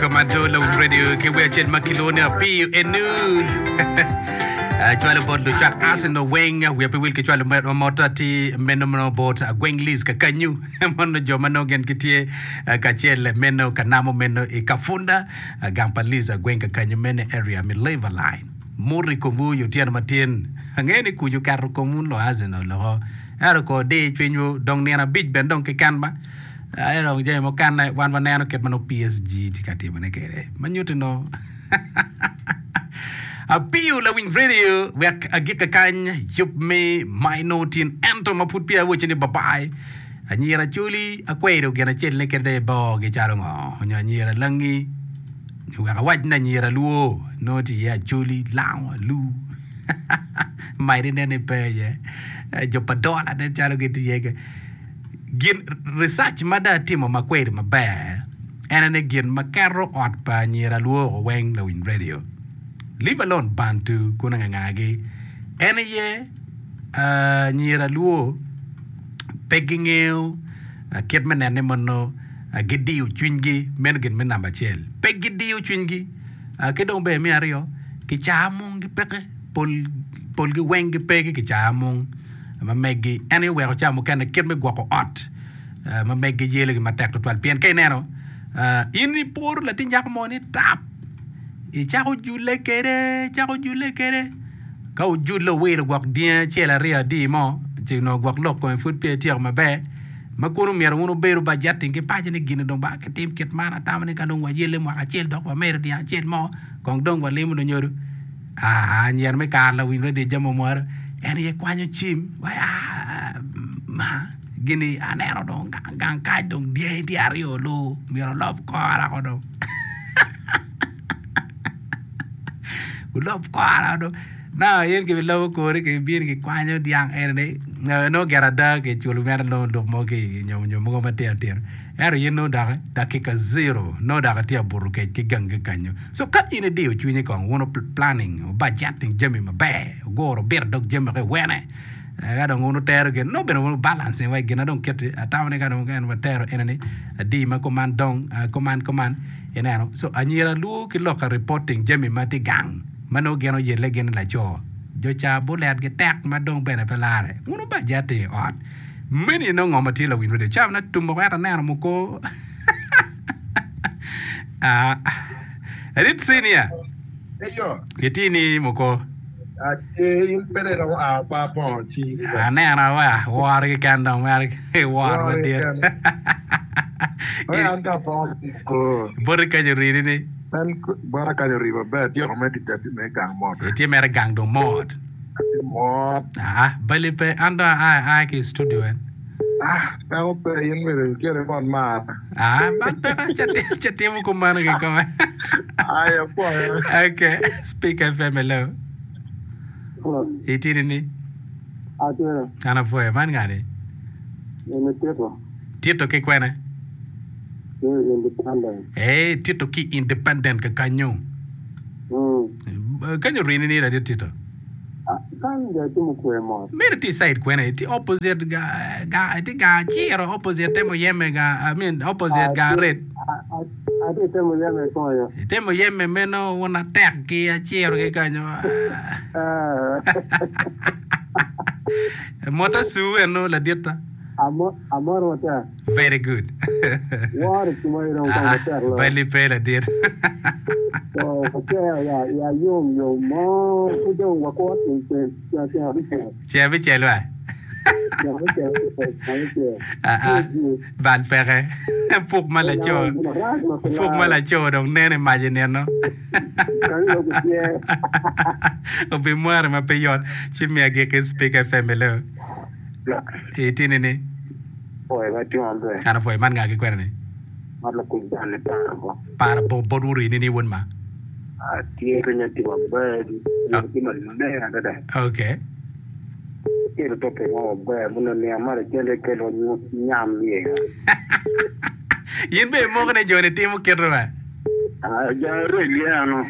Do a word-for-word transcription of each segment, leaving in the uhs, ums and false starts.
Komando Lawiny Radio ki wer acel ma kilwongo ni Apiyo Enu. Cwalo bot lucwak Arsenal weng wiya pe wil ki cwalo mot atir meno meno bot Agweng Liz kakanyu mono jo ma nongo gin gitye kacel meno ka namo meno i Kafunda gang pa Liz Agweng kakanyu meno area me Labour Line. Mot i komwu i otyeno matin. Angeyo ni kuc oketo komwu lo Arsenal loko ento ko dir cwinywu dong nino abic bene dong keken ba. Aye dong jami mukene wan waneno kit ma nongo P S G tye ka timone kwede ma nyutti nongo apiyo lawiny radio wek agike kany yub me my tin ento ma pud peya awocci ni babai anyira Acholi akwedo gin acel ni kit dong ibogi calo ngo nyo anyira Langi nyo wek awac ni anyira Lwo nongo tye iye Acholi Lango Alu madi nen ni pe iye jo pa Dola nen calo gitye iye. Gin research ma dong atimo ma kweri maber en aye ni gin ma keto ot pa anyira lwoko weng lawiny radio leave alone Bantu kun angangagi en aye anyira lwo pe gingeyo kit me nene mono gidiyo cwinygi meno gin me namba acel pe gidiyo cwinygi ki dong bene me aryo kicaa mung gipeke polgi weng gipe ki kicaa mung ma meggi en aye oweko ca mukene kit me gwoko ot ma meggi yelogi matek tutwal pien ka ineno in iporo latin nyako mo ni tap icako jule kede icako jule kede ka ojule owilo gwok dyangi acel aryo adi mo ci onongo gwok lok kome pud peya ityeko maber ma kono myero wun wubedo bajeting ki paco ni gini dong ba kitim kit man atamo ni ka dong wayelle mwaka acel dok wamedo dyang acel mo kong dong walimo lunyodo. Aa, anyira me kare lawiny radio jami omwaro en aye kwanyo cim wai aa ma gini aneno dong gang kany dong dyangi tye aryo lu myero olob kora ko dong olob kora dong nongo in kibilobo kori kibino kikwanyo dyang eni nongo gire ada kiculo mere nongo lok mo ki nyo nyo mogo matino tino ento in nongo dok dakika zero nongo dok itye ka buto kec ki gangi kanyo. So ka in idiyo cwinyi kong wun planning budgeting jami maber wuguro wubito dog jami woko iwene ka dong wun wutero gin nongo bene wun balancing wa gin na dong kiti atamo ni ka dong en watero eni ni adi ma kuman dong kuman kuman ineno so anyira lwor ki lok ka reporting jami ma tye gang ma nongo gin oyelle gin ni laco jo ca bulet gitek ma dong bene pe lare wun wubajeting i ot meni nongo ngo ma tye lawiny radio cawa na tum woko ento aneno muko. Rit senior. Eyo. Itye ni muko. Atye in pe dong iromo a pa bongo ci. Aneno wa woro keken dong mere woro madit. An ka bongo muko. Boti kany orini ni. En bota kany ori maber atyeko mere tic atye mere gang mot. Itye mere gang dong mot. Atye mot. Aa bali pe an dong aa ki i studio en. Ah, peko pe, in myero iket ibot mar. Ah, man peko ca timo kumano kikome. Ay, apwoyo. Okay, Speak F M hello. Itye ni? Atye. An apwoyo. Man ngani? Eni Tito. Tito ki kwene? Ki Independent. Eh, Tito ki Independent kakanyo. Mm. Kanyo rini ni ladit Tito? Kany dong atye mukwe mot. Meno tye i side kwene? Tye opposite ga ga tye gang aciro opposite te muyeme ga I mean opposite gang aret. Atye i te muyeme koyo. I te muyeme meno wun atek ki aciro ki kanyo. Mot asu eno laditta. Amoro matek. Very good. Woro cimo i dong kong matek loyo. Bali pe ladit. So wacer ya ya yom yom mo pud dong wakwo ceng ceng ceng abicel. Ceng abicel wa. Ceng abicel ceng abicel. Ah ah bal peke. Puk ma laco puk ma laco dong nene mac i nino. Obimware ma pe yot ci miya giki Speak F M hello. Itye ni? An apwoyo. Man nga ki kwena ni? Par bo bot wun rini ni wun ma? Atye piny atye maber, tye maleng adada. Okay. Kelo topic mo maber muno niang ma lacen kelo nyam iye. In be imoko ni joni timo kite wa? Ah, jo rel ye ano.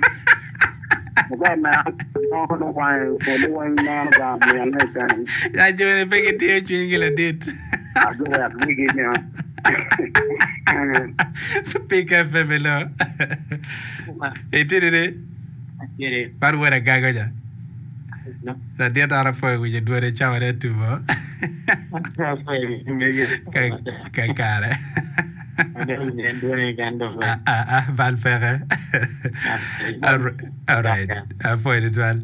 Ya joni pe gitiyo cwinygi ladit. Speak F M hello. Itidi ni? Man wod agago ja. Ladit an apwoyo winyo dwone cawa ne tubo. Ka kare. Ah ah ah bal peke. All right. Apwoyo tutwal.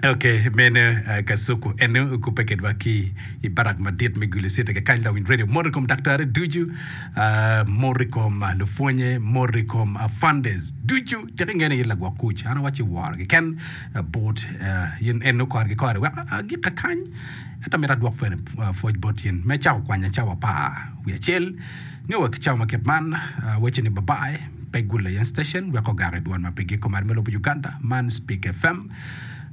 Ok, meno uh, Kasuku eno okubbe kedwa ki i barak madit me Gulu City kakany lawiny radio mot i kom daktari ducu uh, mot i kom uh, lupwonye mot i kom uh, funders ducu tek ingene in lagwok kuc an awaci woro keken uh, bot uh, in eno korgi kore wek agik kakany ento mito adwok pwene uh, pwoc bot in me cako kwanya cawa apar wiye acel nio wa ki cawa ma kit man uh, wacce ni babai pe gul ayen station wek ogak i dwon ma pe giko mar me lobo Uganda man Speak F M.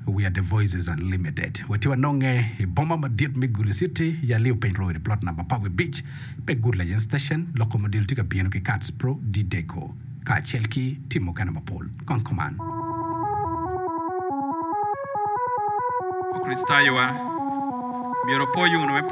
We are the Voices Unlimited. Watye wanonge i boma madit me Gulu City, Yali Openy Road, i plot number Power Beach, pe Good Legend Station, loko model tye ka bino ki Cats Pro D-Deco, kacel ki tim mukene mapol. Kong kuman. Lukricitayowa myero opo yuno me